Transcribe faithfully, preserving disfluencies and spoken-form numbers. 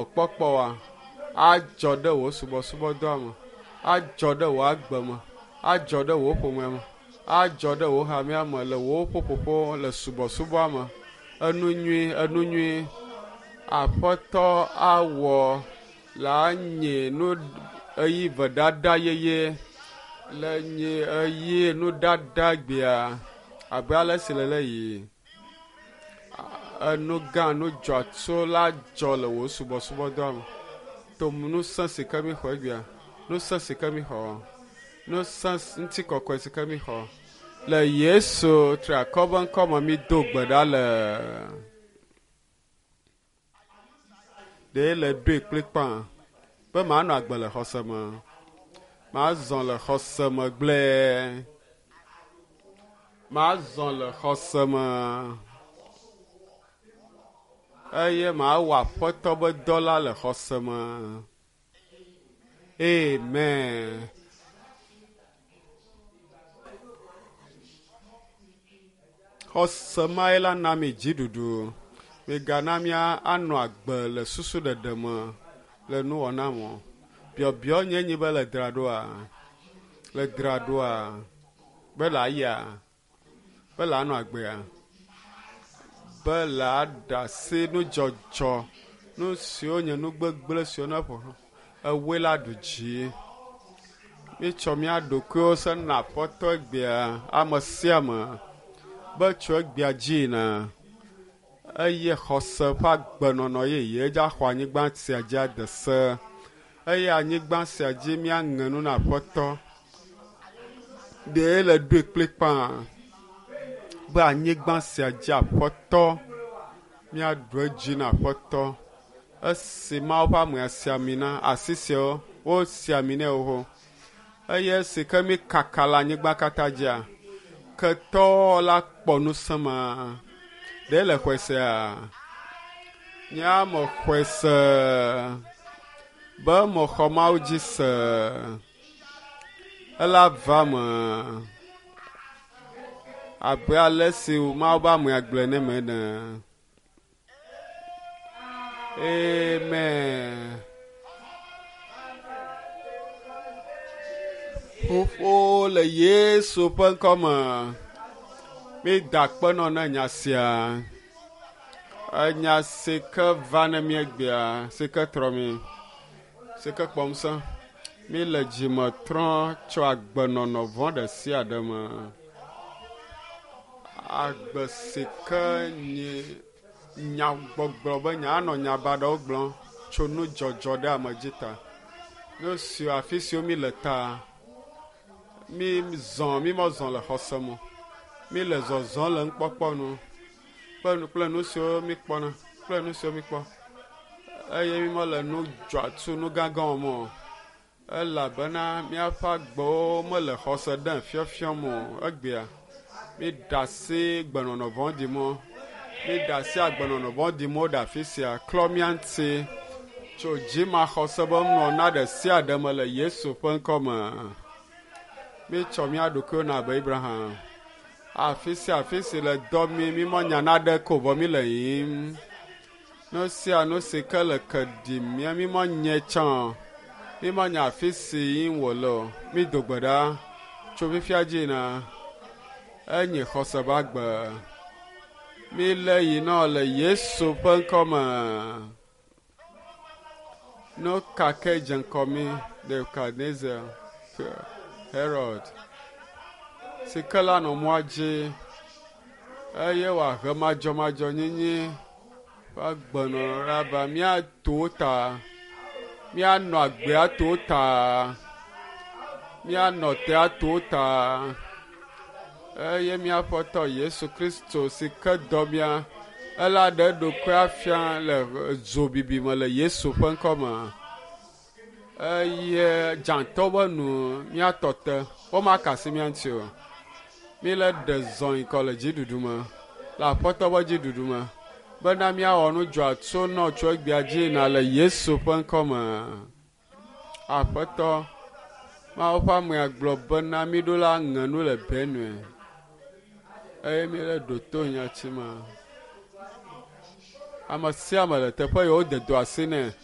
Kpɔkpɔ wa adzɔ ɖe wò subɔsubɔdɔa me, adzɔ ɖe wò agbe me, adzɔ ɖe wò ƒomea me, adzɔ ɖe wò hamea me le wò ƒuƒoƒo le subɔsubɔa me. Enu nyui, enu nyui Aƒetɔ awɔ la nye nu eyi vedada yeye le nye eyi nudada gbea abe ale si le le yi. Enu gã nu dzɔatso la dzɔ le wò subɔsubɔdɔa me. To ŋusẽ si ke mi xɔ egbea, ŋusẽ si ke mi xɔ, ŋusẽ ŋutikɔkɔe si ke mi xɔ. Le Yesu triakɔ be ŋkɔ me mi do gbe ɖa le. Ɖe le ɖoe kplikpaa be manɔ agbe le xɔse me. Mazɔ le xɔse me gblẽe. Mazɔ le xɔse me. Eye mawɔ aƒetɔ be dɔ la le xɔse me. Amen. Xɔse mae la na mi dziɖuɖu. Migana mía anɔ agbe le susu ɖeɖe me le nuwɔna me. Biɔbiɔ nye nyi be le dzra ɖoa, le dzra ɖoa, be le aya, be le anɔ agbea, be le aɖe asi nudzɔdzɔ, nu siwo nye nu gbegblẽ siwo ne ƒo ewoe la ɖu dzi. Mítsɔ mía ɖokuiwo se na aƒetɔ egbea ame sia ame be tso egbea dzi yina eye xɔse ƒe agbenɔnɔ yeye dza xɔ anyigba sia dzi ade se eye anyigba sia dzi míaŋe nu na aƒetɔ. Ɖe le ɖoe kplikpaa be anyigba sia dzi aƒetɔ míaɖu edzi na aƒetɔ. Esi Mawu ƒe amea si ami na asi siawo wosi ami nɛ xoxo eye esi ke mi kaka le anyigba katã dzia, ketɔ la kpɔ ŋusẽ ma. Ɖe le xɔe sea? Nye ame xɔe se be mexɔ Mawu dzi se. Ela va me abe ale si Mawu ƒe amea gblɔe ne me ene. Amen. Ƒoƒo le Yesu ƒe ŋkɔ me. Mi da akpe nɔ ne nya sia. Enya si ke va ne mi egbea, si ke trɔ mi, si ke kpɔ ŋusẽ. Mi le dzime trɔ tso agbenɔnɔ vɔ̃ ɖe sia ɖe me. Agbe si ke nye nyagbɔgblɔ be nya anɔ nya baɖawo gblɔm tso nudzɔdzɔ ɖe ame dzi ta. Nu siwo afi siwo mi le ta, mi zɔ mi mezɔ le xɔse me. Mi le zɔzɔm le nukpɔkpɔ nu kple nu kple nu siwo mi kpɔna kple nu siwo mi kpɔ eye mi mele nu dzɔatsu nu gãgã wɔm o. Elabena míaƒe agbewo mele xɔse ɖem fiɔfiɔm o. Egbea mi ɖe asi gbenɔnɔ vɔ̃ɖi mɔ. Mi ɖe asi agbenɔnɔ vɔ̃ɖi mɔ ɖe afi sia. Klɔ mía ŋuti tso dzimaxɔse be nuwɔna ɖe sia ɖe me le Yesu ƒe ŋkɔ me. Mítsɔ mía ɖokuiwo na abe Abraham. Afi sia afi si le dɔ mi, mi menya naɖeke o vɔ mi le yiyim. Nu sia nu si ke le ke ɖim mía, mi menye tsã o. Mi menya afi si yim wòle o. Mi do gbe ɖa tso fifia dzi yina. Enye xɔse ƒe agbe. Mi le yina le Yesu ƒe ŋkɔ me. Nu ka ke dze ŋkɔ mi Nebukadnezar, Herod, si ke la nɔ mɔa dzi eye wòahe madzɔmadzɔnyenye ƒe agbenɔnɔ ɖa va míato ta, míanɔ agbea to ta, míanɔ tea to ta eye míaƒe Aƒetɔ Yesu Kristo si ke dɔ mía, ela ɖe eɖokui afia le dzobibi me le Yesu ƒe ŋkɔ me. Eye dzãtɔ be nu míatɔ te, womaka asi mía ŋuti o. Mi le ɖe zɔ yi kɔ le dziɖuɖu me, le Aƒetɔ ƒe dziɖuɖu me, bena míawɔ nu dzɔatso nɔ tso egbea dzi yina le Yesu ƒe ŋkɔ me. Aƒetɔ, Mawu ƒe amea gblɔ bena míɖo la ŋe nu le Benue eye míele ɖo to nyati ma. Ame sia ame le teƒe yi wode do asi nɛ.